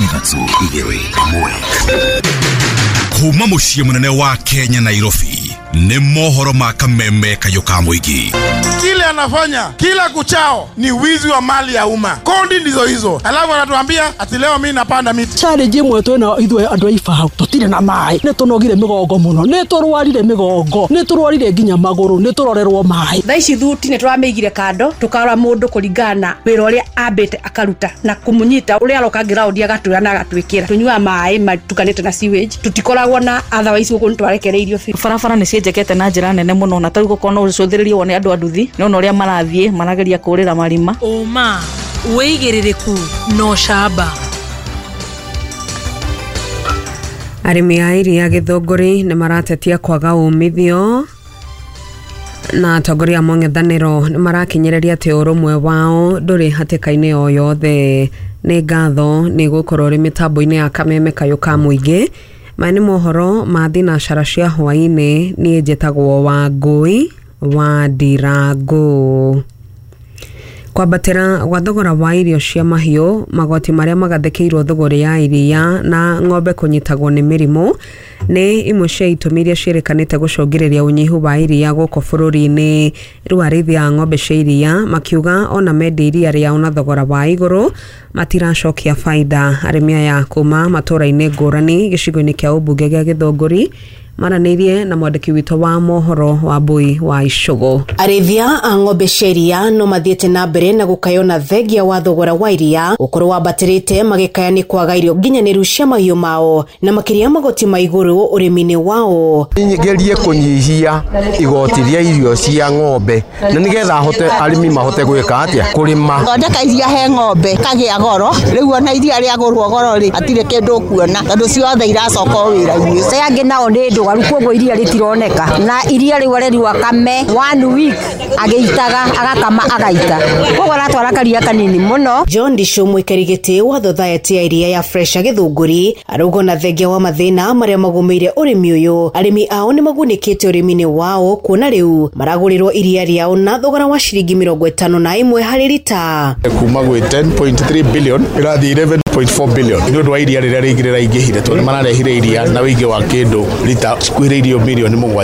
3 2 1. Kuma muciĩ mũnene wa Kenya, Nairobi, nĩ mohoro ma kameme kayũ ka mũingĩ. Kile anafanya kila kuchao ni wizi wa mali ya umma. Kodi ndizo hizo, alafu anatuambia ati leo mimi napanda miti. Challenge imwe twina ithuĩ andũ a Ibao, tũtirĩ na maĩ, nĩ tũnogire mĩgongo mũno, nĩ tũrwarire mĩgongo, nĩ tũrwarire nginya magũrũ, nĩ tũrorerwo maĩ. Thaa ici thuti nĩ tũramĩigire kando, tũkarora mũndũ kũringana na wĩra ũrĩa ambĩte akaruta na kũmũnyita ũrĩa aroka ground agatwĩra na agatwĩkĩra. Tũnyuaga maĩ matukanĩte na sewage, tũtikoragwo na otherwise gũkũ nĩ twarekereirio biũ. Barabara nĩ cienjekete na njĩra nene mũno, na tarĩu gũkorwo no ũcũthĩrĩrie wone andũ a nduthi nĩ ũrĩa marathiĩ marageria kũrĩra marima. Ũma, wĩigĩrĩrĩku na ũcamba. Arĩmi a iria Gĩthũngũri nĩ maratetia kwaga umithio, na atongoria a mũng'ethanĩro nĩ marakinyĩrĩria atĩ ũrũmwe wao ndũrĩ hatĩka-inĩ o yothe. Nĩ ngatho nĩ gũkorwo ũrĩ mĩtambo-inĩ ya kameme kayũ ka mũingĩ. Maya nĩ mohoro ma thinacara cia hwaĩ-inĩ. Niĩ njĩtagwo Wangũi wa Ndirangũ. Kwambatĩra gwa thogora wa irio cia mahiũ, magoti marĩa magathĩkĩirwo thogora ya iria na ng'ombe kũnyitagwo nĩ mĩrimũ nĩ imwe cia itũmi iria ciĩrĩkanĩte gũcũngĩrĩria ũnyihu wa iria gũkũ bũrũri-inĩ. Rĩu arĩithi a ng'ombe cia iria makiuga ona mendia iria rĩao na thogora wa igũrũ matiracokia baida. Arĩmi aya kuma matũra-inĩ ngũrani gĩcigo-inĩ kĩa ũmbunge gĩa Gĩthũngũri maranĩirie na mwandĩki witũ wa mohoro wa Mbui wa Icũgũ. Arĩithia a ng'ombe cia iria no mathiĩte na mbere na gũkaywo na thengia wa thogora wa iria gũkorwo wambatĩrĩte, magĩkaya nĩ kwaga irio nginyanĩru cia mahiũ mao na makĩria magoti ma igũrũ ũrĩmi-inĩ wao. Ngerie kũnyihia igoti rĩa irio cia ng'ombe na nĩgetha hote arĩmi mahote gwĩka atĩa kũrĩma. Thondeka iria he ng'ombe kagĩa goro, rĩu ona iria rĩagũrwo goro rĩ hatirĩ kĩndũ ũkuona tondũ ciothe iracoka o wĩra-inĩ. Arĩa angĩ nao nĩ ndwaru, koguo iria rĩtironeka, na iria rĩu areriwa kame 1 week agĩitaga agakama agaita, koguo aratwara karia kanini mũno. John Ndicũ, mũikari gĩtĩ wa thothaitĩ ya iria ya Fresha Gĩthũngũri, arauga na thengia wa mathĩna marĩa magũmĩire ũrĩmi ũyũ, arĩmi ao nĩ magunĩkĩte ũrĩmi-inĩ wao kuona rĩu maragũrĩrwo iria rĩao na thogora wa ciringi 51 harĩ rita. Kuma gwĩ 10.3 billion ĩrathiĩ 11.4 billion nĩ ũndũ wa iria rĩrĩa rĩingĩ rĩraingĩhire, tondũ nĩ mararehire iria na ũingĩ wa kĩndũ rita cikuhĩrĩirio mirioni 7.